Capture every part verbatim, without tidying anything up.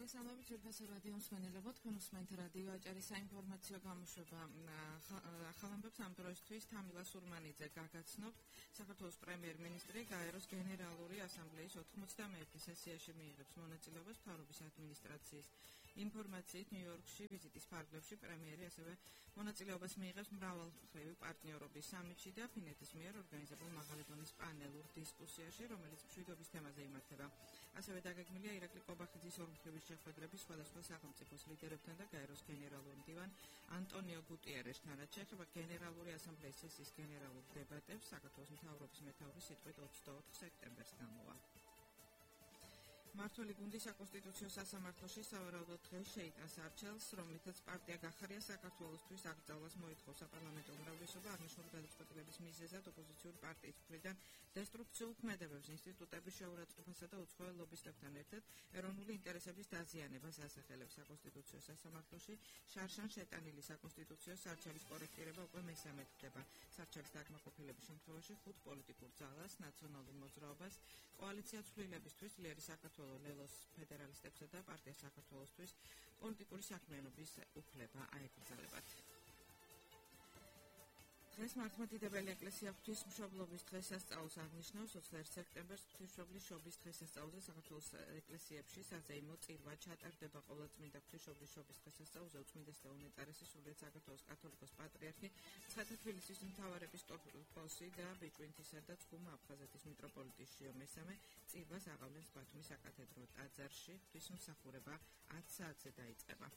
მოგესალმებით ძვირფასო რადიო მსმენელებო, თქვენ უსმენთ რადიო აჭარის საინფორმაციო გამოშვება. ახალ ამბებს ამ დროისთვის თამილა სურმანიძე გაგაცნობთ. საქართველოს პრემიერ-მინისტრი გაეროს გენერალური ასამბლეის ოთხმოცდამეერთე სესიაში მიიღებს მონაწილეობას მთავრობის ადმინისტრაციის ინფორმაციით ნიუ-იორკში ვიზიტის ფარგლებში პრემიერი ასევე მონაწილეობას მიიღებს მრავალმხრივი პარტნიორობის სამიტში და ფინეთის მიერ ორგანიზებულ მაღალი დონის პანელურ დისკუსიაში, რომელიც მშვიდობის თემაზე იმართება. ასევე დაგეგმილია ირაკლი კობახიძის ორმხრივი შეხვედრები სხვადასხვა სახელმწიფოს ლიდერებთან და გაეროს გენერალურ მდივან ანტონიო გუტიერესთან, რაც შეეხება გენერალური ასამბლეის სესიის გენერალურ დებატებს, საქართველოს მთავრობის მეთაურის სიტყვით ოცდაოთხ სექტემბერს გამოვა. მმართველი გუნდი საკონსტიტუციო სასამართლოში სავარაუდოდ დღეს შეიტანს არჩევნს, რომლითაც პარტია გახარია საქართველოსთვის აკრძალვას მოითხოვს საპარლამენტო უმრავლესობა აღნიშნული გადაწყვეტილების მიზეზად ოპოზიციური პარტიის მხრიდან დესტრუქციულ ქმედებებს, ინსტიტუტების შეურაცხყოფასა და უცხოელ ლობისტებთან ერთად ეროვნული ინტერესების დაზიანებას ასახელებს. საკონსტიტუციო სასამართლოში შარშან შეტანილი საკონსტიტუციო სარჩელის კორექტირება უკვე მესამედ ხდება. სარჩელის დაკმაყოფილების შემთხვევაში ხუთ პოლიტიკურ ძალას, ნაციონალურ მოძრაობას, კოალიცია ცვლილებისთვის, ძლიერი საქართველოს ლელოს ფედერალისტებსა და პარტია საქართველოსთვის პოლიტიკური საქმიანობის უფლება აეკრძალებათ. დღეს მართლმადიდებელი ეკლესია ღვთისმშობლობის დღესასწაულს აღნიშნავს. ოცდაერთი სექტემბერს ღვთისმშობლის შობის დღესასწაულზე საქართველოს ეკლესიებში საზეიმო წირვა ჩატარდება. ყოვლადწმინდა ღვთისმშობლის შობის დღესასწაულზე უწმინდეს ლეონე წერესის სრულიად საქართველოს კათოლიკოს პატრიარქი, ცხეთა თბილისის მთავარეპისკოპოსი და ბიჭვინთისა და ცხუმა აფხაზეთის მიტროპოლიტი შიო მესამე წირვას აღავლენს ბათუმის საკათედრო ტაძარში. ღვთისმსახურება ათ საათზე დაიწყება.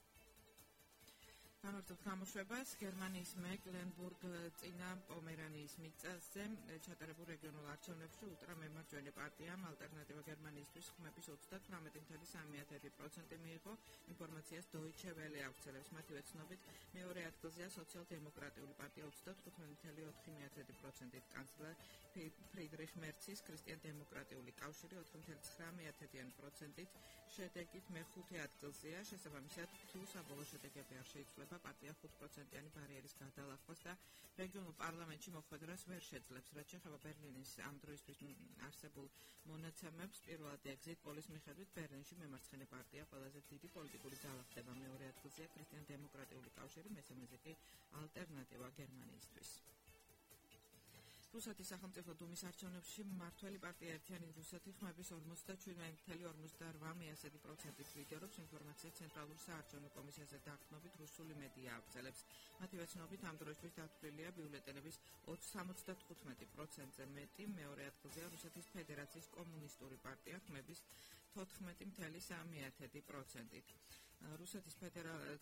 გამარჯობთ გამოშვებას. გერმანიის მეკლენბურგ წინა პომერანიის მიწაზე ჩატარებულ რეგიონულ არჩევნებში ულტრამემარჯვენე პარტიამ ალტერნატივა გერმანიისთვის ხმების ოცდათვრამეტი კoma სამი პროცენტი მიიღო. ინფორმაციას Deutsche Welle ავრცელებს. მათივე ცნობით მეორე ადგილზეა სოციალ-დემოკრატიული პარტია ოცდათხუთმეტი კoma ოთხი პროცენტით, კანცლერ ფრიდრიხ მერცის ქრისტიან-დემოკრატიული კავშირი ოთხი კoma ცხრამეტი პროცენტით, შედეგით მეხუთე ადგილზეა. შესაბამისად, თუ საბოლოო შედეგები არ შეიცვლება, პარტია ხუთ პროცენტიანი ბარიერის გადალახვას და რეგიონულ პარლამენტში მოხვედრას ვერ შეძლებს. რაც შეეხება ბერლინის ამ დროისთვის არსებულ მონაცემებს, პირველად ეგზიტ პოლის მიხედვით ბერლინში მემარცხენე პარტია ყველაზე დიდი პოლიტიკური ძალა ხდება. მეორე ადგილზეა ქრისტიან-დემოკრატიული კავშირი, მესამეზე კი ალტერნატივა გერმანიისთვის. რუსეთის სახელმწიფო დუმის არჩევნებში მმართველი პარტია ერთიანი რუსეთი ხმების ორმოცდაშვიდ კoma ორმოცდაოთხ პროცენტით ლიდერობს. ინფორმაცია ცენტრალურ საარჩევნო კომისიაზე დაყრდნობით რუსული მედია ავრცელებს. მათივე ცნობით ამ დროისთვის დათვლილია ბიულეტენების სამოცდათხუთმეტი პროცენტზე მეტი. მეორე ადგილზეა რუსეთის ფედერაციის კომუნისტური პარტია ხმების თოთხმეტი კoma სამი პროცენტით. რუსეთის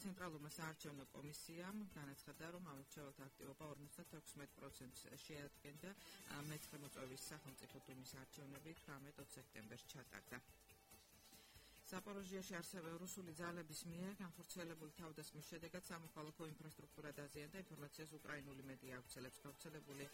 ცენტრალურმა საარჩევნო კომისიამ განაცხადა, რომ ამორჩეველთა აქტივობა ორმოცდათექვსმეტ პროცენტს შეადგენდა. მეცხრე მოწვევის სახელმწიფო დუმის არჩევნები თვრამეტ სექტემბერს ჩატარდა. ზაპოროჟიაში ასევე რუსული ძალების მიერ განხორციელებული თავდასხმის შედეგად სამოქალაქო ინფრასტრუქტურა დაზიანდა. ინფორმაციას უკრაინული მედია ავრცელებს. გავრცელებული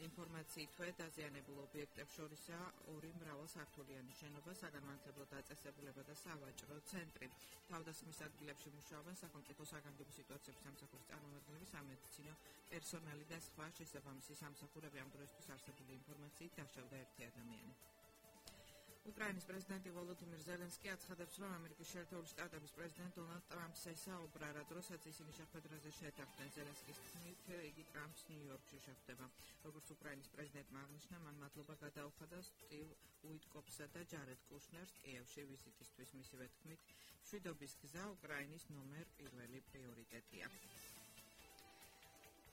ინფორმაციითვე დაზიანებულ ობიექტებს შორისაა ორი მრავალსართულიანი შენობა, საგანმანათლებლო დაწესებულება და სავაჭრო ცენტრი. თავდასხმის ადგილებში მუშაობენ სახელმწიფო საგანგებო სიტუაციების სამსახურის წარმომადგენლები, სამედიცინო პერსონალი და სხვა. შესაბამისი სამსახურები ამ დროისთვის არსებული ინფორმაციით დაშავდა ერთი ადამიანი. უკრაინის პრეზიდენტი ვოლოდიმირ ზელენსკი აცხადებს, რომ ამერიკის შეერთებული შტატების პრეზიდენტ დონალდ ტრამპს ესაუბრა, როდესაც ისინი შეხვედრაზე შეთანხმდნენ. ზელენსკის თქმით, იგი ტრამპს ნიუ-იორკში შეხვდება. როგორც უკრაინის პრეზიდენტმა აღნიშნა, მან მადლობა გადაუხადა სტივ უიტკოფსა და ჯარედ კუშნერს კიევში ვიზიტისთვის. მისივე თქმით, მშვიდობის გზა უკრაინის ნომერ პირველი პრიორიტეტია.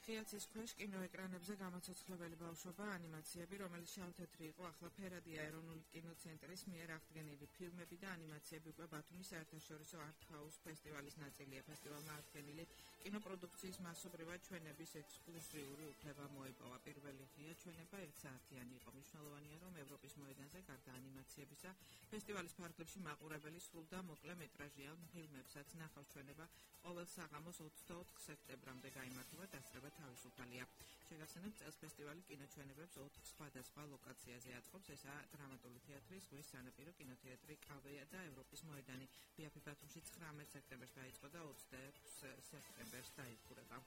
ხიათის ქვეშ კინოეკრანებზე გამოცოცხლებელი ბავშვობა ანიმაციები, რომელიც შავ-თეთრი იყო, ახლა ფერადია. ეროვნული კინოცენტრის მიერ აღდგენილი ფილმები და ანიმაციები უკვე ბათუმის საერთაშორისო არტ-ჰაუს ფესტივალის ნაწილია. ფესტივალმა აღდგენილი კინოპროდუქციის მასობრივად ჩვენების ექსკლუზიური უფლება მოიპოვა. პირველი ღია ჩვენება ერთსაათიანი იყო. მნიშვნელოვანია, რომ ევროპის მოედანზე გარდა ანიმაციებისა, ფესტივალის ფარგლებში მაყურებელი სრულ და მოკლე მეტრაჟიან ფილმებსაც ნახავს. ჩვენება ყოველ საღამოს ოცდაოთხ სექტემბრამდე გაიმართება, დასწრება თავისუფალია. შეგახსენებთ, წელს ფესტივალი კინოჩვენებებს ოთხ სხვადასხვა ლოკაციაზე აწყობს. ესაა დრამატული თეატრი, ზღვის სანაპირო, კინოთეატრი კავეა და ევროპის მოედანი. ბიაფი ბათუმში ცხრამეტ სექტემბერს დაიწყო და ოცდაექვსი სექტემბერს დაიხურება.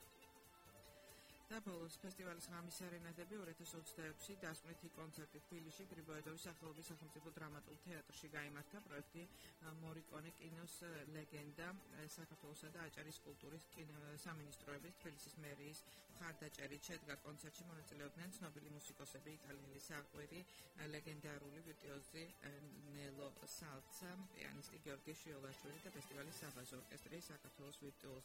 და ბოლოს ფესტივალის ღამის სერენადები ორი ათას ოცდაექვსი დასკვნითი კონცერტი თბილისში გრიბოედოვის სახელობის სახელმწიფო დრამატულ თეატრში გაიმართა. პროექტი მორიკონე კინოს ლეგენდა საქართველოსა და აჭარის კულტურის სამინისტროების თბილისის მერიის მხარდაჭერით შედგა. კონცერტში მონაწილეობდნენ ცნობილი მუსიკოსები, იტალიელი საყვირი, ლეგენდარული ვირტუოზი ნელო სალცა, პიანისტი გიორგი შიოლაშვილი და ფესტივალის საბაზო ორკესტრი საქართველოს ვირტუოზები.